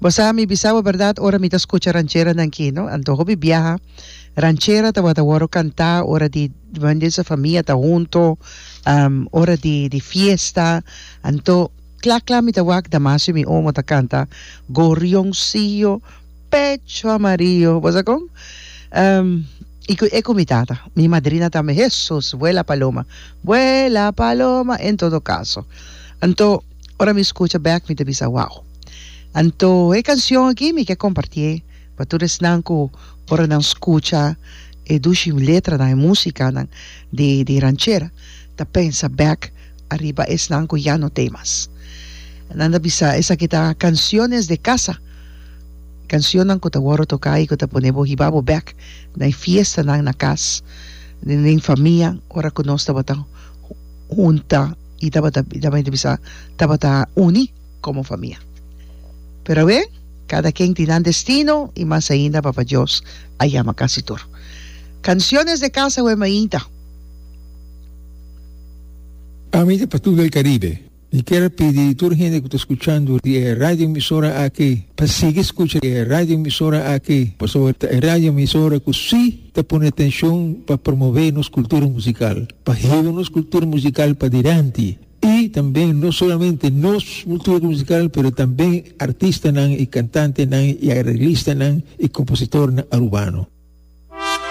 Bo sa mi bisa bo berdad ora mi ta scucha rancheranan aki no anto hopi biaha ranchera tabata worde canta ora di sa famia ta hunto ora di di fiesta anto cla cla mi ta wak Damasio mi omo ta canta gorrioncillo pecho amarillo bo sa con y cu e cu mi tata mi madrina tambe Hesus vuela paloma vuela paloma en todo caso anto Ora mi skucha bek mi ta bisa wow. Anto e kanshon aki mi ke kompartié pa tur esnan ku ora nan skucha e dushi letranan, e musikanan di di ranchera ta pensa bek ariba esnan ku ya no t'ei mas. Nan ta bisa esaki ta canciones de casa, kanshonnan ku ta wòrdu toká i ku ta pone bo hiba bo bek na e fiestanan na kas, den famia ora ku nos tabata hunta. i tabata tabata bisa tabata uni komo famia. Pero awe kada ken tin nan destino i mas ainda Papa Dios a yama kasi tur. Canciones de casa awe mainta. Ami ta Patul del Caribe. Mi kier a pidi tur hende ku ta skuchando di e radio emisora aki pa sigui skucha e radio emisora aki pasobra ta e radio emisora ku si ta pone atenshon pa promove nos kultura musikal. Pa heba nos cultura musical padilanti y tambe no solamente nos cultura musical pero tambe artistanan y cantantenan y arreglistanan y compositornan Arubano.